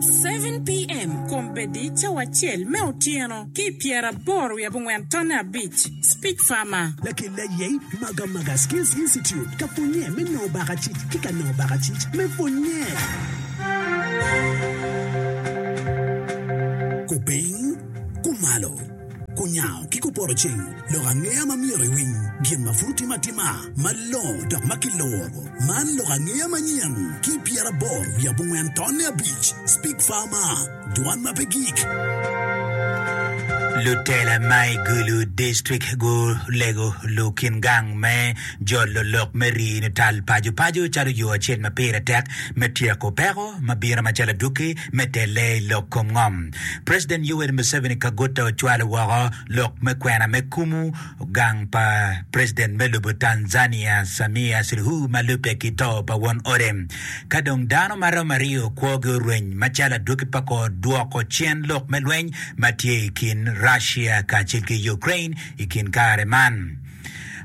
7 PM, Kombeddi cawa acel me otyeno ki i pyeraboro wiye abongwen tonne abic, Speech Farmer. Lakel aye Magamaga Skills Institute ka pwonye me nongo bakacic ki ka nongo bakacic me pwonye. Kupiny, kumalo, kunyango ki kupoto ceng, lok angeya ma myero iwiny, gin ma pud otim atima, malongo dok ma kiluro. Man lok angeya manyen ki pyeraboro wiye abongwen tonne abic, Speak Farmer, Dwan ma pe gik. Lutela ma i Gulu District gulego lukin gang me jolo lok me rii nital paco paco calo yo acel ma pire tek me tyeko peko ma bino macalo adwogi me telle i lok kom ngom. President Yoweri Museveni Kaguta ocwalo woko lok me kwena me kumu gang pa President me lobo Tanzania Samia Suluhu ma lubbe ki to pa won ode. Ka dong dano ma romo aryo kwogi orweny macalo adwogi pa kor dwoko cen lok me lweny ma tye i kin Russia kacel ki Ukraine i kin kare man.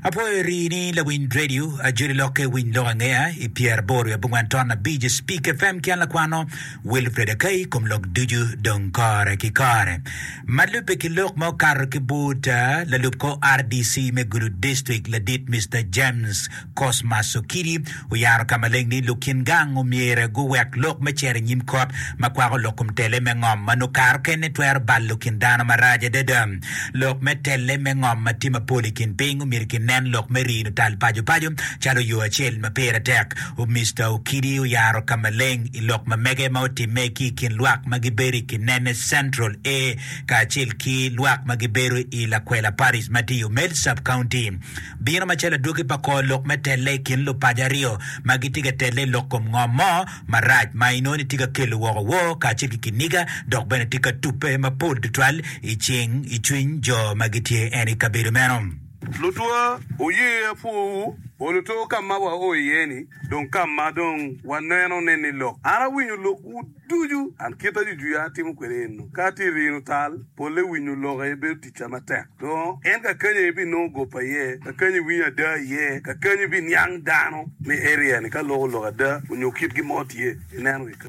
Apwoyo rii ni lawiny radio ajoli lokke winy lok angeya i pyeraboro wiye abongwen ton abic Speak FM ki an lakwano Wilfred Akai kom lok ducu dong kore ki kore. Ma lubbe ki lok ma okato ki but lalub kor RDC me Gulu District ladit Mister James Cosmas Okidi oyaro ka maleng ni lukin gang omyere guwek lok me cito i nyim kot ma kwako lok kom tele me ngom ma nongo kare okene twero balo kin dano marac adada. Lok me tele me ngom ma tye mapol i kin piny omyero kinen lok me rino tal paco paco calo yo acel ma pire tek. Mister Okidi oyaro ka maleng i lok ma mege ma otimme ki i kin lwak ma gibedo i Kinene Central A kacel ki lwak ma gibedo i Lakwela Parish ma tye i Omel Sub-County. Bino macalo adwogi pa kor lok me telle i kin lupaco aryo ma gitye ka telle i lok kom ngom mo marac ma inongo ni tye ka kelo woko woo kacel ki kiniga dok bene tye ka tubbe mapol tutwal i cing i cwiny jo ma gitye en i kabedo meno. Lutwa, wuye apwowu, oluto ka ma wao iye-ni, dong ka ma dong waneno ne ni lok. An awinyo lokwu ducu, an kita jujuya atimo kwede eno. Ka atye i rino tal, polle winyo lok aye bedo ticca matek. Dong en kakany aye ibinongo goba iye, kakany iwinyo ada iye, kakany ibiniang dano me area ni ka loko lok ada onyo kitgi mo tye, ineno ki.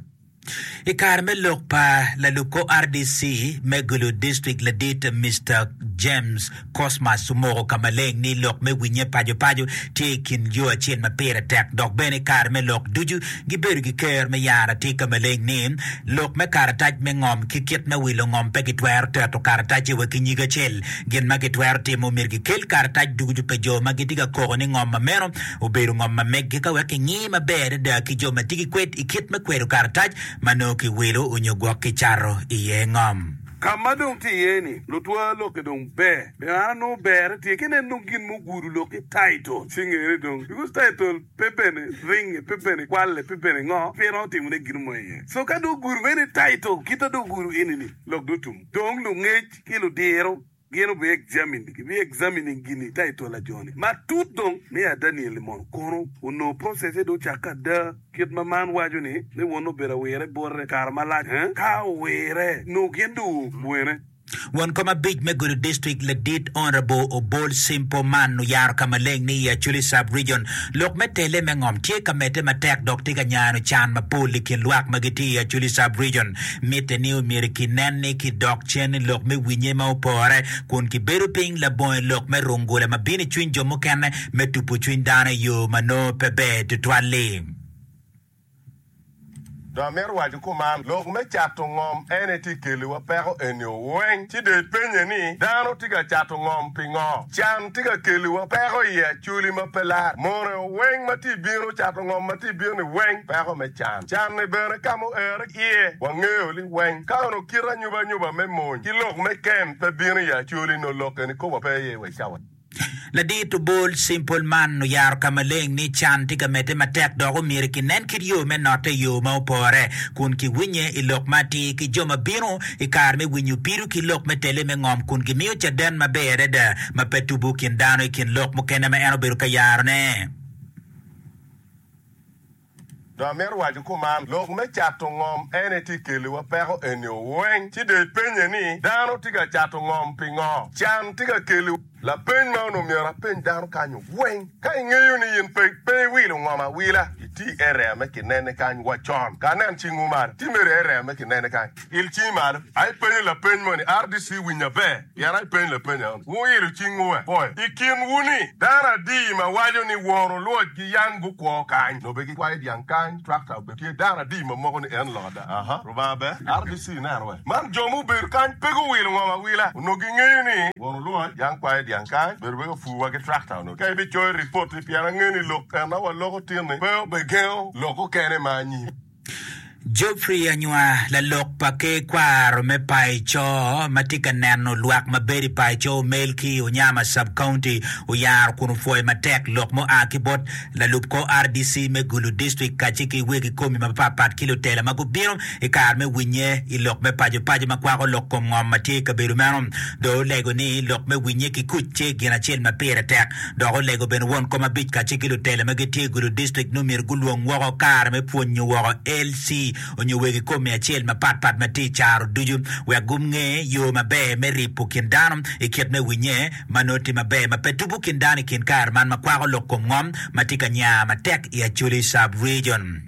I kare me lok pa lalub kor RDC me Gulu District ladit Mister James Cosmas omoko ka maleng ni lok me winye paco paco tye i kin yo acel ma pire tek dok bene i kare me lok ducu gibedo ki ker me yaro atir ka maleng ni lok me karatac me ngom ki kit me wilo ngom pe gitwero teto karatacce wa ki nyig acel. Gin ma gitwero timo myero gikel karatac ducu pa jo ma gitye ka koko ni ngom ma meno obedo ngom ma meggi ka wek kingi maber adada ki jo ma tye ki kwed i kit me kwedo karatac ma nongo kiwilo onyo gwok kicato iye ngom. Ka ma dong tye iye ni, lutwa lokke dong ber. Pien an anongo berre tye ki nen dong gin mugudo lok ki title ci ngere dong because title pe bene ringe pe bene kwalle pe bene ngo pe romo timo ne gin mo iye so ka dong ogudo meno i title kita dong ogudo eni ni lok dong otum dong lungec ki ludiro Gin obi examine, gibi examining gini title a joni matut dong me a Daniel ni mono kono onongo process-se dong ocakke ada kit ma man waco ni ni won obedo awire bote kare malac eh ka owire nongo gin dong wene. Won kom abic me Gulu District ladit Honourable Obol Simple Man oyaro ka maleng ni i Acholi Sub Region lok me tele me ngom tye ka medde matek dok tye ka nyano can mapol i kin lwak ma gitye i Acholi Sub Region. Mitte ni omyero kinen ni kidok cen i lok me winye ma opore kun kibedo piny labongo i lok me rungula ma bino i cwiny jo mukene me tupo cwiny dano i yo ma nongo pe ber tutwal-li. Dong amito waco kuman, lok me cato ngom en aye tye keliwa peko eni-o weng. Ci dong ipenye ni, dano tye ka cato ngom pingo? Can tye ka keliwa peko i Acholi ma pe lar. Mone weng ma tye bino cato ngom ma tye bino-ni weng peko me can. Can-ni bene ka ma oere iye wangeyo liweng. Ka onongo kit anyubanyuba me mony ki lok me kem pe bino i Acholi nongo lok eni koba pe iye wa i cawa. Ladit Obol Simple man oyaro ka maleng ni can tye ka medde matek dok omyero kinen kit yo me notte i yo ma opore kun kiwinye i lok ma atir ki jo ma bino i kare me winyo pido ki lok me tele me ngom kun gimiyo caden maber adada ma pe tubo kin dano i kin lok mukene ma en obedo ka yarone. Dong amito waco kuman, lok me cato ngom en aye tye keliwa peko eni weng. Ci dong ipenye ni, dano tye ka cato ngom pingo? Can tye ka keliwa. Lapeny ma onongo myero apeny dano kany weng, ka ingeyo ni in pe pe iwilo ngom awila, iti i area me kinene kany wa con. Ka anen cingwu malo, ti mere i area me kinene kany. Il cingi malo. Ai penyo lapeny moni, RDC winyo aber, pien ai penyo lapeny aoni. Wuilo cingwu we. Pwoyo. I kinwu ni, dano adi ma waco ni won olwoc gi yang gukwo kany? Nongo be gikwayo dyang kany, tractor be tye. Dano adi ma moko ni en lok ada? Aha. Rubanga ber. RDC ineno we. Man jo mubedo kany pe guwilo ngom awila. Onongo gingeyo ni won olwoc yang kwayo dyang kany, bedo be ka pur wa ki tractor onongo. Ka ibicoyo ripot-ti, pien angeyo ni lok en ma waloko tin-ni pe obegengo lok okene ma anyim. Geoffrey Anywa, lalok pa ker kwaro me Paico ma tye ka neno lwak ma bedo i Paico Omel ki Onyama Sub-County oyaro kun opwoyo matek lok mua ki bot lalub kor RDC me Gulu District kacel ki wegi komi mapatpat ki lutela ma gubino i kare me winye i lok me paco paco ma kwako lok kom ngom ma tye i kabedo meno. Dong olego ni lok me winye ki kuc tye gin acel ma pire tek Dok olego bene won kom abic kacel ki lutela ma gitye i Gulu District ni omyero gulwong woko kare me pwonyo woko LC onyo wegi komi acel mapat pat ma tye i caro ducu wek gunge yo maber me ripo kin dano i kit me winye ma nongo tye maber ma pe tubo kin dano i kin kare man ma kwako lok kom ngom ma tye ka nya matek i Acholi Sub-Region.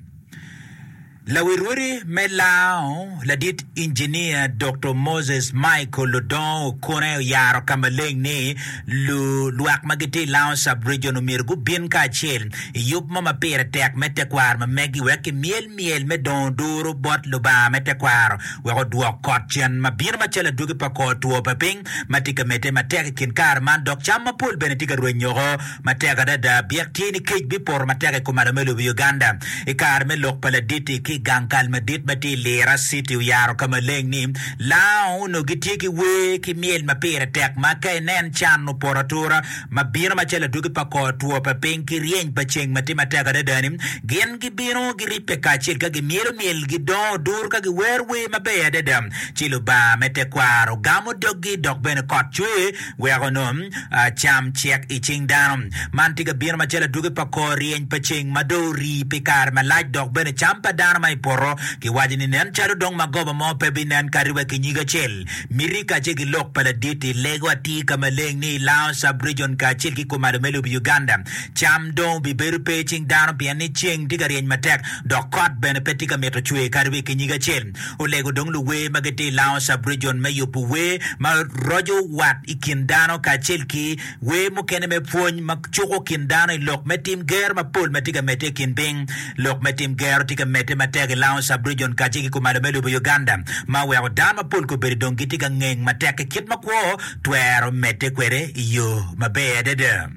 Lawirwodi me Lango, ladit Injinia Doktor Moses Michael Odongo Okone oyaro ka maleng ni lu lwak ma gitye i Lango Sub-Region omyero gubin kacel i yub mo ma pire tek me tekwaro ma megi wek kimyel myel me dongo duru bot Lubanga me tekwaro wek odwok kot cen ma bino macalo adwogi pa kor two pa piny ma tye ka medde matek i kin kare man dok cam mapol bene tye ka rwenyoko Matek adada, byek tye ni kec bipoto matek i kumalo me lobo Uganda. I kare me lok pa ladit-ti ki i gang kal madit ma tye i Lira City oyaro ka maleng ni, Lango onongo gitye ki wer ki myel ma pire tek ma ka inen can opoto atura ma bino macalo adwogi pa kor two pa piny ki ryeny pa ceng ma tye matek adada-ni, gin gibino giribbe kacel ka gimyelo myel, gidongo dur ka giwero wer maber adada. Ci Lubanga me tekwaro gamo doggi dok bene kot cwer Wek onong cam cek i cing dano. Man tye ka bino macalo adwogi pa kor ryeny pa ceng ma dong orii pi kare malac dok bene cam pa dano ma i poto kiwaco ni nen calo dong magoba mo pe binen kadi wa ki nyig acel. Miti kacel ki lok pa ladit-ti lego atir ka maleng ni i Lango Sub-Region kacel ki kumalo me lobo Uganda, cam dong obibedo pe i cing dano pien ni ceng tye ka ryeny matek dok kot bene pe tye ka mito cwer kadi wa ki nyig acel. Olego dong luwer ma gitye i Lango Sub-Region me yubo wer ma roco wat i kin dano kacel ki wer mukene me pwony ma cuko kin dano i lok me tim gero mapol ma tye ka medde i kin piny. Lok me tim gero tye ka medde matek i Lango Sub-Region kacel ki kumalo me lobo Uganda ma oweko dano mapol kobedo dong gitye ka ngeng matek ki kit ma kwo twero medde kwede i yo maber adada.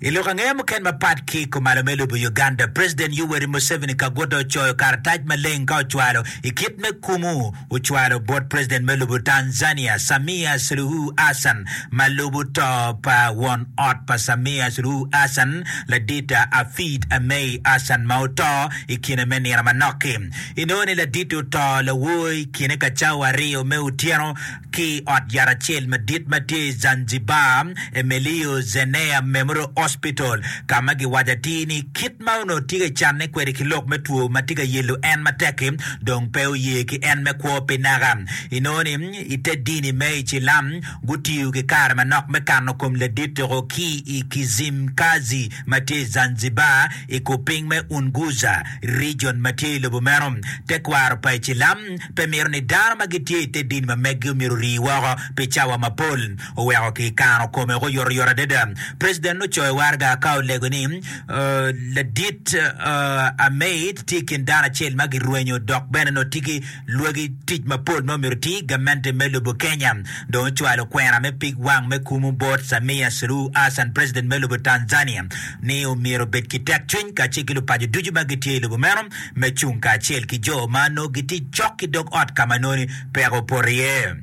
I lok angeya mukene mapat ki i kumalo me lobo Uganda, President Yoweri Museveni Kaguta ocoyo karatac maleng ka ocwalo i kit me kumu ocwalo bot President me lobo Tanzania Samia Suluhu Hassan ma lubo to pa won ot pa Samia Suluhu Hassan ladita Hafidh Ameir Hassan ma oto i kine me nino manok-ki. Inongo ni ladit-ti oto lawor i kine ka cawa aryo me otyeno Ki i ot yat acel madit ma tye i Zanzibar, Emilio Zenea Memorial Hospital, ka ma giwaco atir ni kit ma onongo tye ka canne kwede ki lok me two ma tye ka yelo en matek-ki, dong pe oye ki en me kwo pi naka. Inongo ni i te dini me Icilam, gutiyo ki kare manok me kano kom ladit-tiko ki i Kizimkazi ma tye i Zanzibar, i kupiny me Unguja Region ma tye i lobo meno. Tekwaro pa Icilam pe mito ni dano ma gitye i te dini ma meggi omyero orii woko pi cawa mapol. Oweko kikano kome oyotoyot adada. President ocoyo waraga ka olego ni ladit Ameid tye i kin dano acel ma girwenyo dok bene nongo tye ki lwagi tic mapol ma omyero oti. Gamente me lobo Kenya dong ocwalo kwena me pig wang me kumu bot Samia Suluhu Hassan President me lobo Tanzania ni omyero obed ki tekcwiny kacel ki lupaco ducu ma gitye i lobo meno me cung kacel ki jo ma nongo gitye cok ki dog ot ka ma nongo peko opoto iye.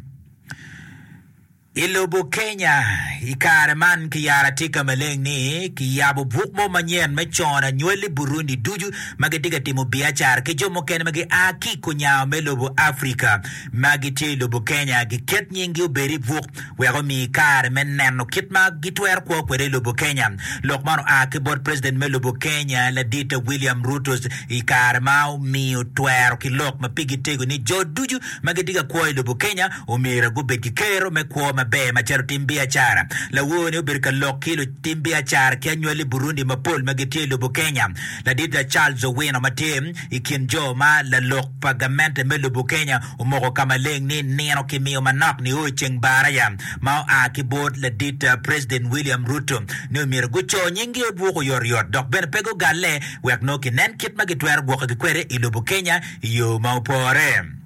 I lobo Kenya, i kare man kiyaro atika maleng ni kiyabo buk mo manyen me cono anywali Burundi ducu ma gitye ka timo biacara ki jo mukene ma gia ki i kunyango me lobo Afrika ma gitye i lobo Kenya giket nyinggi obed i buk wek omi kare me neno kit ma gitwero kwo kwede i lobo Kenya. Lok man oa ki bot President me lobo Kenya Ladit William Ruto i kare ma omiyo twero ki lok ma pigi tego ni jo ducu ma gitye ka kwo i lobo Kenya omyero gubed ki kero me kwo ma. maber macalo tim biacara. Lawor-ni obedo ka lok ki lutim biacara ki anywali Burundi mapol ma gitye i lobo Kenya. Ladit Charles Owino ma tye i kin jo ma lalok pa gamente me lobo Kenya omoko ka maleng ni nino kimiyo manok nio i ceng baraya ma oa ki bot ladit President William Ruto ni omyero guco nyinggi obwuk oyotoyot dok bene pe gugalle wek nongo kinen kit ma gitwero gwokogi kwede i lobo Kenya i yo ma opore.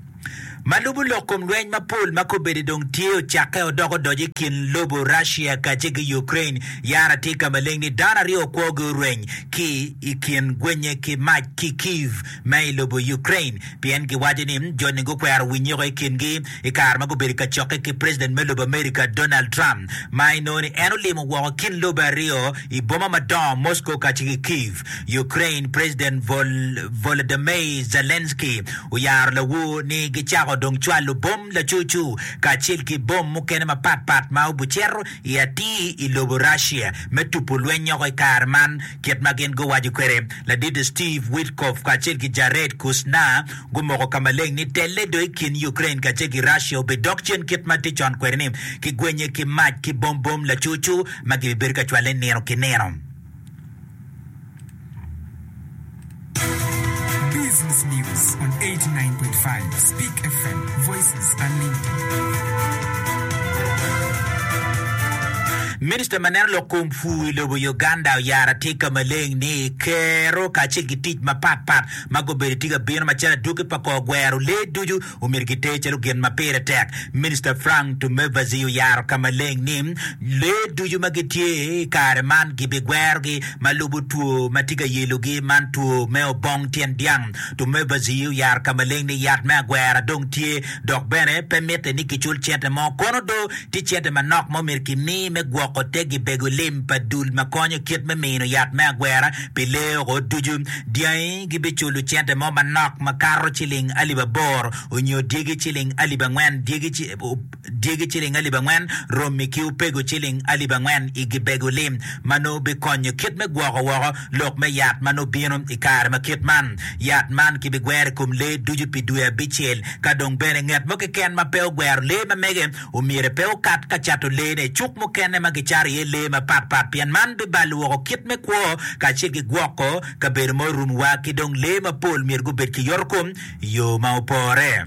Ma lubo lok kom lweny mapol ma kobedi dong tye ocakke odok odoco i kin lobo Russia kacel ki Ukraine, yara tye ka maleng ni dano aryo kwogi orweny ki i kin gwenye ki mac ki Kyiv ma i lobo Ukraine pien giwaco ni joni gukwero winyeko i kingi i kare ma gubedo ka cokke ki President me lobo America Donald Trump ma inongo ni en olimo woko kin lobe aryo i boma madongo Moscow kacel ki Kyiv. Ukraine President Volodymyr Zelensky oyaro lawor ni gicako dong cwalo bom lacucu kacel ki bom mukene mapat pat ma obucito i atir i lobo Russia me tupo lweny-nyoko i kare man kit ma gin guwaco kwede. Ladit Steve Witkoff kacel ki Jared Kushner gumoko ka maleng ni telle do i kin Ukraine kacel ki Russia obidok cen kit ma tye con kwede ni ki gwenye ki mac ki bom bom lacucu ma gibibedo ka cwale nino ki nino. Business News on 89.5 Speak FM, Voices Unlimited. Minista ma neno lok kom pur i lobo Uganda oyaro atir ka maleng ni kero kacel ki tic mapat pat ma gubedo tye ka bino macalo adwogi pa kor gwero lee ducu omyero giter calo gin ma pire tek. Minista Frank Tumebazi oyaro ka maleng ni lee ducu ma gitye i kare man gibigwerogi ma lubo two ma tye ka yelogi, man two me obong tyen dyang. Tumebazi oyaro ka maleng ni yat me agwera dong tye dok bene pe mitte ni kicul cente mo kono do tye cente manok ma omyero kimi me gwoko te gibego lim pa dul ma konyo kit me mino yat me agwera pi lee oko ducu. Dyangi gibiculo cente mo manok makato ciling alip aboro, onyo dyegi ciling alip angwen, dyegi ciling alip angwen, romi ki opego ciling alip angwen i gibego lim, ma nongo bikonyo kit me gwoko woko lok me yat ma nongo bino i kare ma kit man. Yat man kibigwero i kom lee ducu pi dwe abicel, ka dong bene nget mo keken ma pe ogwero lee ma mege Omyere pe okat ka cato lee-ne i cuk mukene ma gicato iye lee mapatpat pien man bibalo woko kit me kwo kacel ki gwoko kabedo ma orumowa ki dong lee mapol myero gubed ki yotokom i yo ma opore.